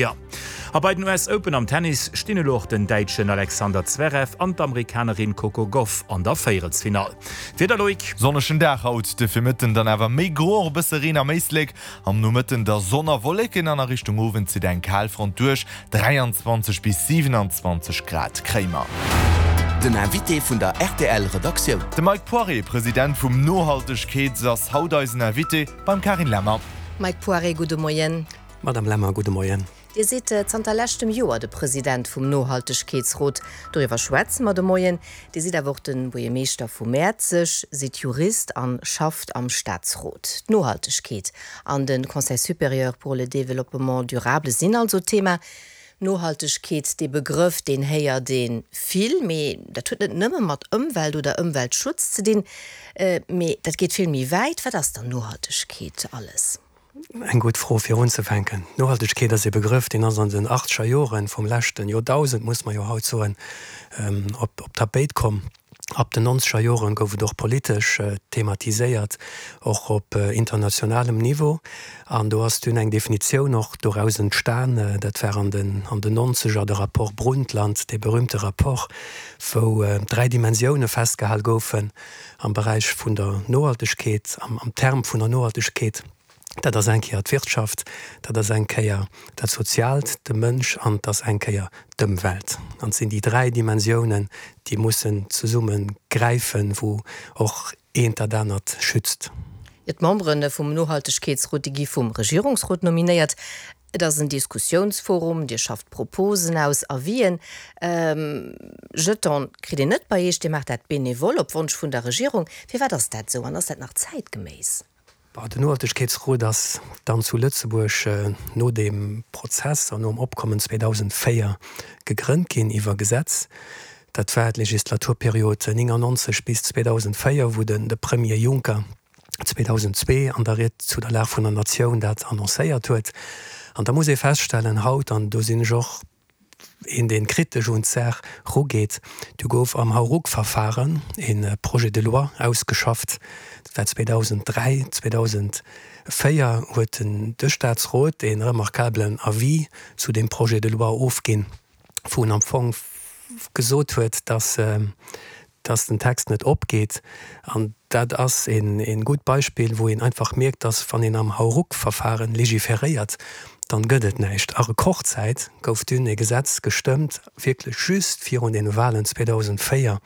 A bei den US Open am Tennis stinn elo och den Däitschen Alexander Zverev an d'Amerikanerin Coco Gauff an der Véierelsfinall. Wieder Loïc. Sonnegen Dag haut, de Virmëtten dann awer méi gro, och e bësse Reen am Éislek. Am Nomëtten da Sonn a Wolleken an a Richtung Owend zitt eng Kalfront duerch. 23 bis 27 Grad kréie mer. Den Invité vun der rtl Redaktioun. De Mike Poiré, President vum Nohaltegkeets ass haut eisen Invité beim Carine Lemmer. Mike Poiré, gudde Moien. Madame Lemmer, gudde Moien. Dir sidd zanter leschtem Joer de President vum Nohaltegkeetsrot. Doriwwer schwätze mer de Moien. Dir sidd awer och de Buergermeeschter vu Mäerzeg, sidd Jurist an schafft am Staatsrot. D'Nohaltegkeet an de Conseil supérieur pour le développement durable sinn also Thema. Nohaltegkeet, dee Begrëff, deen héiert ee vill, mee dat huet net nëmme mat Ëmwelt oder Ëmweltschutz ze dinn, mee dat geet vill méi wäit. Wat ass dann Nohaltegkeet alles? Eng gutt Fro fir unzefänken. Nohaltegkeet ass ee Begrëff, deen ass an den achtzeger Joren vum leschten Joerdausend, muss mer jo haut soen, op d'Tapéit komm. Ab den nonzeger Joren gouf et och politesch thematiséiert, och op internationalem Niveau. An do ass dunn eng Definitioun och doraus entstan, dat war an den an den nonzeger de Rapport Brundtland, dee berühmte Rapport, wou 3 Dimensioune festgehal goufen, am Beräich vun der Nohaltegkeet, am Term vun der Nohaltegkeet, dat ass eng Kéier d'Wirtschaft, dat ass eng Kéier dat Soziaalt, de Mënsch, an et ass eng Kéier d'Ëmwelt. An et sinn déi 3 Dimensiounen, déi mussen zesumme gräifen, wou och eent dat anert schützt. D'Membere vum Nohaltegkeetsrot, déi gi vum Regierungsrot nominéiert. Et ass en Diskussiounsforum, Dir schafft Proposen aus, Avisen. Jeton kritt een net bei Iech, Dir maacht dat benevol op Wonsch vun der Regierung. Firwat ass dat esou an ass dat nach zäitgeméiss? Den Nohaltegkeetsrot ass dann zu Lëtzebuerg no deem Prozess an nom Opkommen 2004 gegrënnt ginn iwwer Gesetz. Dat war d'Legislaturperiod 99 bis 2004, wou de Premier Juncker 2002 an der Ried zu der Lag vun der Natioun dat annoncéiert huet. An da muss ee feststellen haut, an do sinn ech och een, dee kritesch un d'Saach rugeet, du gouf am Hauruck-Verfahren e Projet de loi ausgeschafft, dat war 2003, 2004 huet de Statsrot e remarkablen Avis zu deem Projet de loi ofginn, wou en am Fong gesot huet, dass dass den Text net opgeet. An dat ass e gutt Beispill, wou een einfach mierkt, dass wann een am Hauruck-Verfahren legiferéiert, dann gëtt et näischt. A Rekordzäit gouf dunn e Gesetz gestëmmt, wierklech just virun den Wahlen 2004.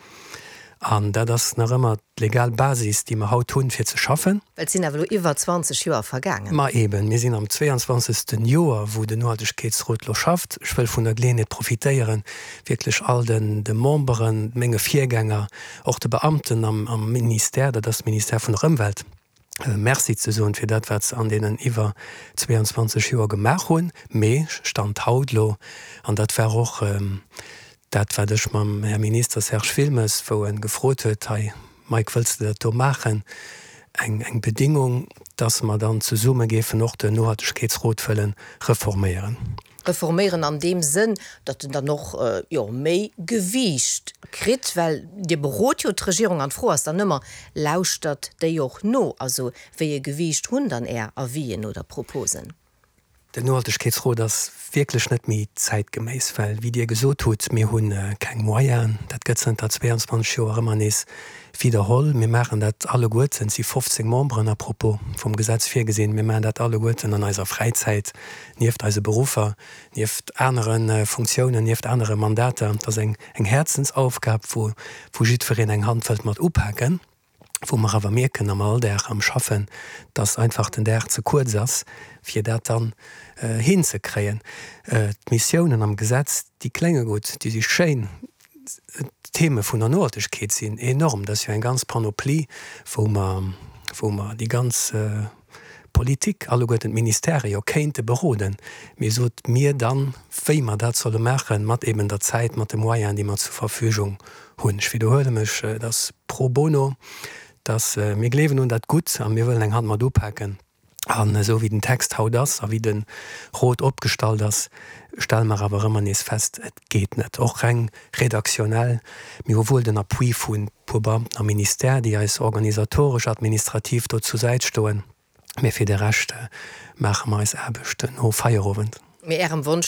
An dat ass nach ëmmer d'legal Basis, déi mer haut hunn, fir ze schaffen. Well et sinn awer elo iwwer 20 Joer vergaangen. Ma eben, mir sinn am 22. Joer, wou den Nohaltegkeetsrot elo schafft. Ech wëll vun der Geleeënheet profitéieren, wierklech all de Memberen, menge Virgänger, och de Beamten am Ministère, dat ass de Ministère vun der Ëmwelt, Merci ze soen fir dat, wat se an deenen iwwer 22 Joer gemaach hunn. Mee Stand haut elo, an dat war och dat, wat ech mam Här Minister Serge Wilmes, wou e gefrot huet, hei Mike, wëlls de dat do maachen, eng eng Bedingung, dass mer dann zesumme géifen och den Nohaltegkeetsrot wëlle reforméieren. Reforméieren an deem Sënn, datt en dann och, jo, méi Gewiicht kritt, well Dir berot jo d'Regierung an d'Fro ass dann ëmmer, Lauschtert déi och no? Also wéi e Gewiicht hunn dann Är Avisen oder Proposen? Den Nohaltegkeetsrot ass wierklech net méi zäitgeméiss, well, wéi Dir gesot hutt, mir hu keng Moyenen. Dat gëtt zënter 22 Joer ëmmer nees widderholl. Mir maachen dat alleguerten, et si 15 Memberen à propos vum Gesetz virgesinn, mir maachen dat alleguerten an eiser Fräizäit, nieft eise Beruffer, nieft anere Funktiounen, nieft anere Mandater. Et ass eng Häerzensaufgab, wou jiddwereen eng Hand wëllt mat upaken. wou mer awer mierken am Alldag, am Schaffen, dass einfach den Dag ze kuerz ass, fir dat dann hinzekréien. D'Missiounen am Gesetz, déi klénge gutt, déi si schéin, d'Theme vun der Nohaltegkeet sinn enorm, dat ass jo eng ganz Panoplie, wou mer, wou mer déi ganz Politik, alleguerten d'Ministèrë jo kéinte beroden, mee sot mir dann, wéi mer dat solle maachen, mat eben der Zäit, mat de Moyenen, déi mer zur Verfügung hunn. Ech widderhuele mech, et ass pro bono, dass mir gleewen un dat Gutt a mir wëllen eng Hand mat upaken. An esou wéi den Text haut ass a wéi de Rot opgestallt ass, stelle mer awer ëmmer nees fest, et geet net, och reng redaktionell. Mir hu wuel den Appui vu puer Beamten am Ministère, déi eis organisatoresch, administrativ do zur Säit stoen, mee fir de Rescht maache mer eis Aarbecht no Feierowend. Mee Ärem Wonsch.